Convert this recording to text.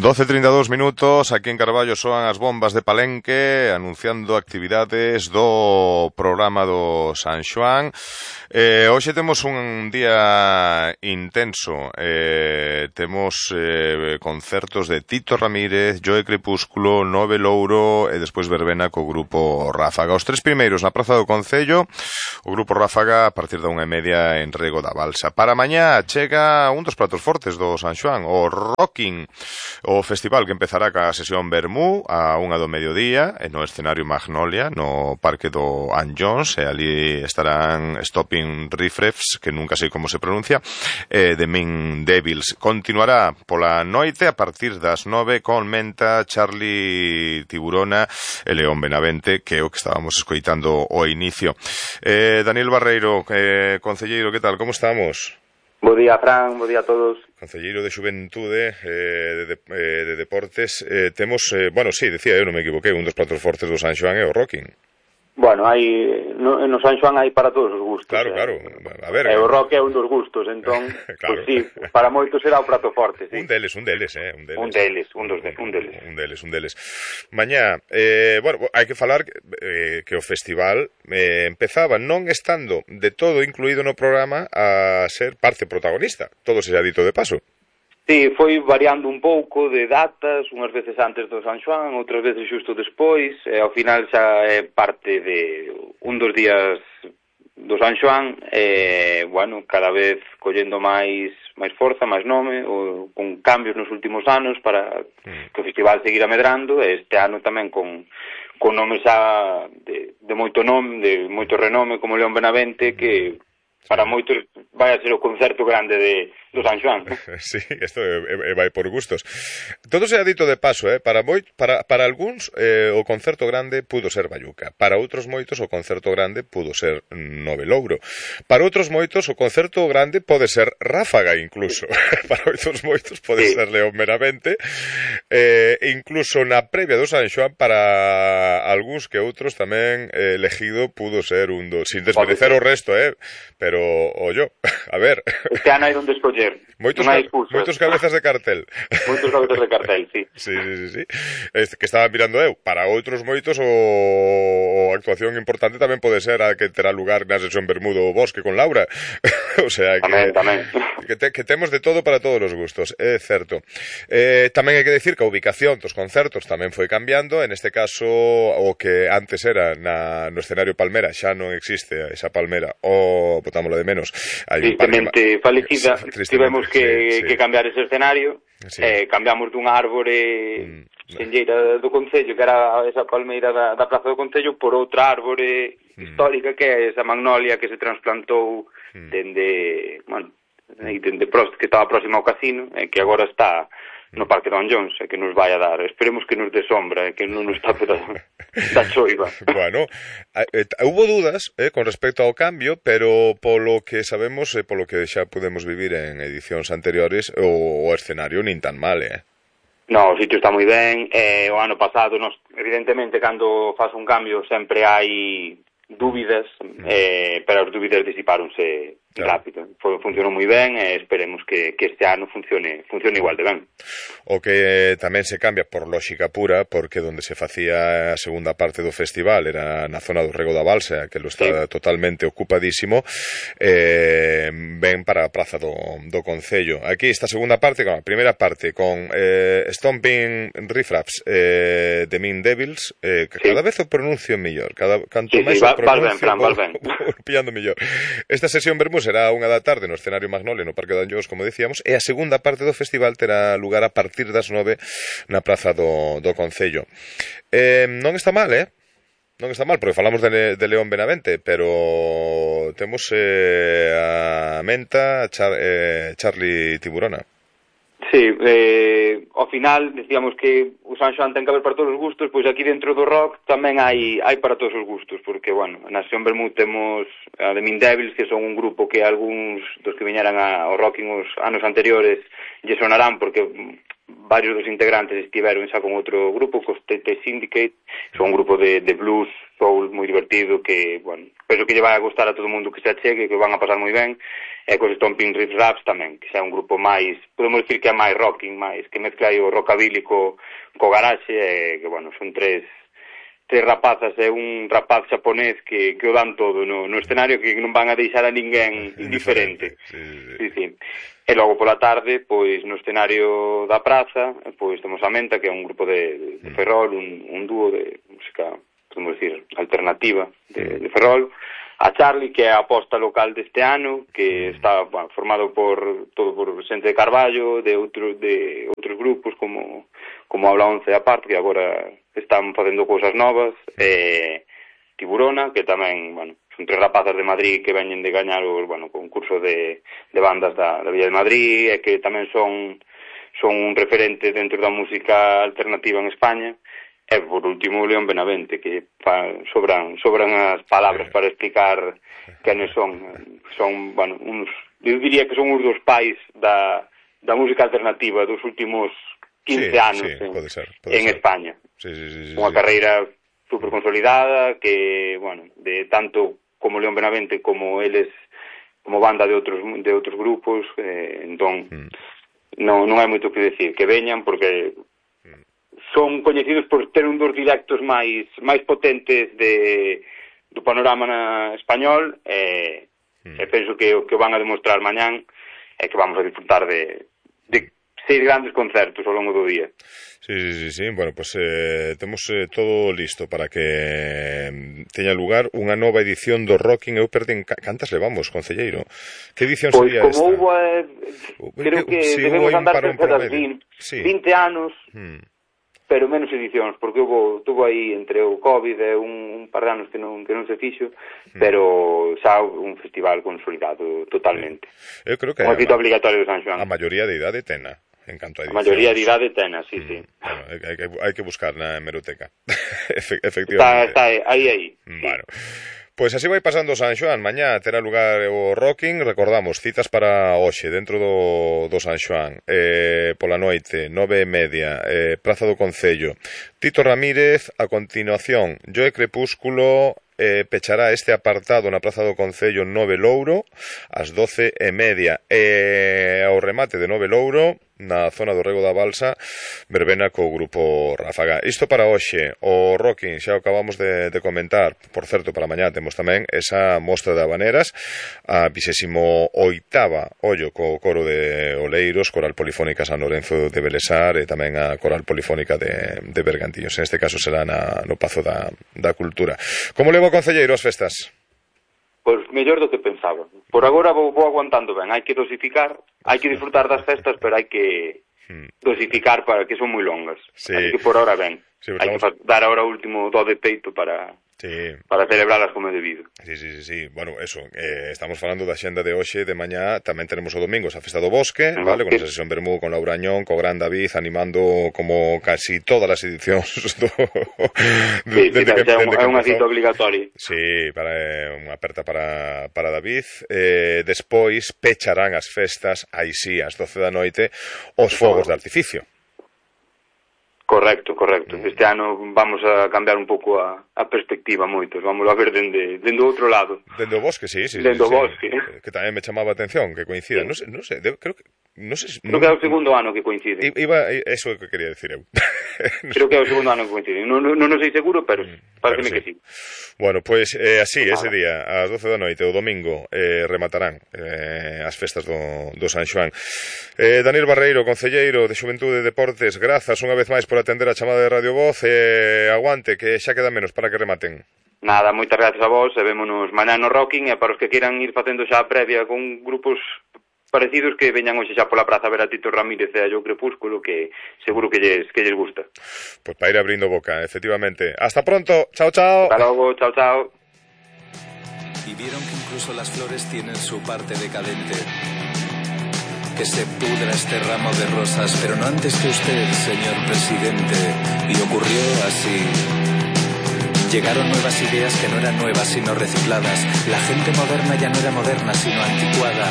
12:32, aquí en Carballo soan as bombas de Palenque anunciando actividades do programa do San Xoán. Hoxe temos un día intenso, temos concertos de Tito Ramírez, Joe Crepúsculo, Nove Louro e despois verbena co grupo Ráfaga. Os tres primeiros na Praza do Concello, o grupo Ráfaga a partir da 1:30 en Rego da Balsa. Para mañá chega un dos platos fortes do San Xoán, o Rocking, o festival que empezará ca sesión Bermú a 1 do mediodía no escenario Magnolia, no Parque do Ann Jones, e ali estarán Stopping Riffraffs, que nunca sei como se pronuncia, The Mean Devils. Continuará pola noite a partir das 9 con Menta, Charlie Tiburona e León Benavente, que é o que estábamos escoitando ao inicio. Daniel Barreiro, concelleiro, que tal, como estamos? Bo día, Fran, bo día a todos. Concelleiro de Xuventude, de Deportes. Temos, bueno, sí, decía eu, non me equivoquei, un dos platos fortes do San Xoán é o Rocking. Bueno, no San Xoán hai para todos os gustos. Claro, claro. A ver, o rock é un dos gustos, entón, claro. Pues sí, para moitos será o prato forte, sí. Un deles. Un deles. Mañá, bueno, hai que falar que o festival empezaba non estando de todo incluído no programa a ser parte protagonista. Todo se ha dito de paso. Sí, foi variando un pouco de datas, unhas veces antes do San Xoán, outras veces xusto despois, e ao final xa é parte de un dos días do San Xoán, e, bueno, cada vez collendo máis forza, máis nome, ou con cambios nos últimos anos para que o festival seguira medrando, e este ano tamén con nomes xa de moito nome, de moito renome, como León Benavente, que para moitos vai a ser o concerto grande do San Xoán. Sí, isto vai por gustos. Todo se ha dito de paso, para algúns o concerto grande pudo ser Bayuca, para outros moitos o concerto grande pudo ser Nove Louro, para outros moitos o concerto grande pode ser Ráfaga incluso, para outros moitos pode ser León Benavente, incluso na previa do San Xoán para algúns que outros tamén elegido pudo ser un dos, sin desmerecer o resto, pero ollo, a ver. Este ano hai onde escoller. Moitos cabezas de cartel. Moitos cabezas de cartel, sí. Sí. Que estaba mirando eu. Para outros moitos o actuación importante tamén pode ser a que terá lugar na sesión Bermudo o Bosque con Laura. O sea que tamén. Que temos de todo para todos os gustos, é certo. Tamén hai que decir que a ubicación dos concertos tamén foi cambiando. En este caso, o que antes era no escenario Palmera xa non existe esa Palmera, o botámoslo de menos. Tristemente falecida, tivemos que cambiar ese escenario, cambiamos dunha árbore senlleira do Concello, que era esa palmeira da Praza do Concello, por outra árbore histórica, que é esa magnolia que se transplantou dende Prost, que estaba próxima ao casino, que agora está no Parque do Ann Jones, que nos vai a dar, esperemos que nos dé sombra, que non nos tape da choiva. Bueno, hubo dudas con respecto ao cambio, pero polo que sabemos e polo que xa podemos vivir en edicións anteriores, o escenario nin tan mal, No, o sitio está moi ben, o ano pasado, evidentemente, cando faz un cambio sempre hai dúbidas, pero as dúbidas disipáronse rápido. Funcionou moi ben e esperemos que este ano funcione igual de ben. O que tamén se cambia por lógica pura, porque donde se facía a segunda parte do festival era na zona do Rego da Balsa, que lo está totalmente ocupadísimo, ven para a Praza do Concello. Aquí esta segunda parte, a primeira parte con Stomping Riffraffs, The Mean Devils, que cada vez o pronuncio mellor, canto máis o pronuncio pillando mellor. Esta sesión Bermú será 1 da tarde no escenario Magnolia no Parque de Ann Jones, como decíamos, e a segunda parte do festival terá lugar a partir das 9 na Praza do Concello. Non está mal, non está mal, porque falamos de León Benavente, pero temos a Menta, Charlie Tiburona. Sí, ao final decíamos que o San Xoán ten que haber para todos os gustos, pois aquí dentro do rock tamén hai para todos os gustos, porque, bueno, na sesión Bermú temos a The Mean Devils, que son un grupo que algúns dos que viñeran ao Rocking os anos anteriores lle sonarán, porque varios dos integrantes estiveron xa con outro grupo, cos TT Syndicate, son un grupo de blues, soul, moi divertido, que, bueno, penso que lle vai a gustar a todo o mundo que se achegue, que van a pasar moi ben, e cos Stomping Riffs Raps tamén, que xa é un grupo máis, podemos dicir que é máis rocking, máis, que mezcla aí o rockabilly co garaxe, e que, bueno, son tres rapazas e un rapaz xaponés que o dan todo no escenario, que non van a deixar a ninguén indiferente. Sí. E logo pola tarde, pois no escenario da praza, pois temos a Menta, que é un grupo de Ferrol, un dúo de música, podemos dicir, alternativa de Ferrol, a Charlie, que é a aposta local deste ano, que está, bueno, formado por xente de Carballo, de outros grupos como Habla 11 aparte, que agora están facendo cousas novas, Tiburona, que tamén, bueno, son tres rapazas de Madrid que veñen de gañar o, bueno, concurso de bandas da Villa de Madrid, e que tamén son un referente dentro da música alternativa en España. E, por último, León Benavente, que sobran as palabras para explicar quenes son. Son, bueno, eu diría que son uns dos pais da música alternativa dos últimos 15 anos pode ser. España. Unha carreira super consolidada, que, bueno, de tanto como León Benavente como eles, como banda de outros grupos, entón non hai moito que decir, que veñan, porque son coñecidos por ter un dos directos máis potentes do panorama español, e penso que o que van a demostrar mañán é que vamos a disfrutar de 6 grandes concertos ao longo do día. Sí. Bueno, pues temos todo listo para que teña lugar unha nova edición do Rocking. Eu perdín cantas levamos, concelleiro? Que edición sería esta? Pois como houve, creo que debemos andar cerca das 20 anos, pero menos edicións, porque tuvo aí entre o COVID e un par de anos que non se fixo, pero xa un festival consolidado totalmente. Eu creo que un cito obligatorio de San Xoán. A maioría de idade tena. En canto a edicións. A maioría de idade tena, sí. Bueno, hai que buscar na hemeroteca. Efectivamente. Está aí. Bueno. Pois así vai pasando San Xoán. Mañá terá lugar o Rocking. Recordamos, citas para hoxe dentro do San Xoán, pola noite 9:30, Praza do Concello. Tito Ramírez. A continuación, Joe Crepúsculo pechará este apartado na Praza do Concello Nove Louro ás 12:30, e ao remate de Nove Louro, na zona do Rego da Balsa, verbena co grupo Ráfaga. Isto para hoxe. O Rocking xa o acabamos de comentar. Por certo, para mañá temos tamén esa mostra de habaneras, a 28ª, ollo, co coro de Oleiros, Coral Polifónica San Lorenzo de Belesar, e tamén a Coral Polifónica de Bergantiños. En este caso será no Pazo da Cultura. Como levo o concelleiro as festas? Pois mellor do que pensaba. Por agora vou aguantando ben. Hai que dosificar, hai que disfrutar das festas, pero hai que dosificar para que son moi longas. Sí. Así que por ahora ben. Sí, hai que dar ahora o último do de peito para celebrarlas como é debido. Sí. Bueno, eso, estamos falando da xenda de hoxe, de mañá, tamén tenemos o domingo a Festa do Bosque, vale, con esa sesión Bermú, con Laura Añón, co Gran David, animando como casi todas as edicións é unha cita obligatoria. Sí, unha aperta para David. Despois pecharán as festas, aí sí, ás 12 da noite, os fogos de artificio. Correcto. Este ano vamos a cambiar un pouco a perspectiva moitos. Vamos a ver dende outro lado. Dende o bosque, sí. Dende o bosque. Que tamén me chamaba a atención, que coincida. Sí. Non sei, creo que é o segundo ano que coincide. Eso é o que quería decir eu. Creo que é o segundo ano que coincide. Non sei seguro, pero parece que sí. Bueno, pois así, ese día, ás 12 da noite, o domingo, rematarán as festas do San Xoán. Daniel Barreiro, concelleiro de Xuventude e Deportes, grazas unha vez máis por atender a chamada de Radio Voz, aguante, que xa queda menos para que rematen. Nada, moitas gracias a vos, e vémonos mañá no Rocking, e para os que queiran ir facendo xa a previa con grupos parecidos, que veñan hoxe xa pola praza a ver a Tito Ramírez e a Joe Crepúsculo, que seguro que lles gusta. Pois para ir abrindo boca, efectivamente. Hasta pronto, chao. Hasta logo, chao. Y vieron que incluso las flores tienen su parte decadente. Que se pudra este ramo de rosas, pero no antes que usted, señor presidente. Y ocurrió así. Llegaron nuevas ideas que no eran nuevas sino recicladas. La gente moderna ya no era moderna sino anticuada.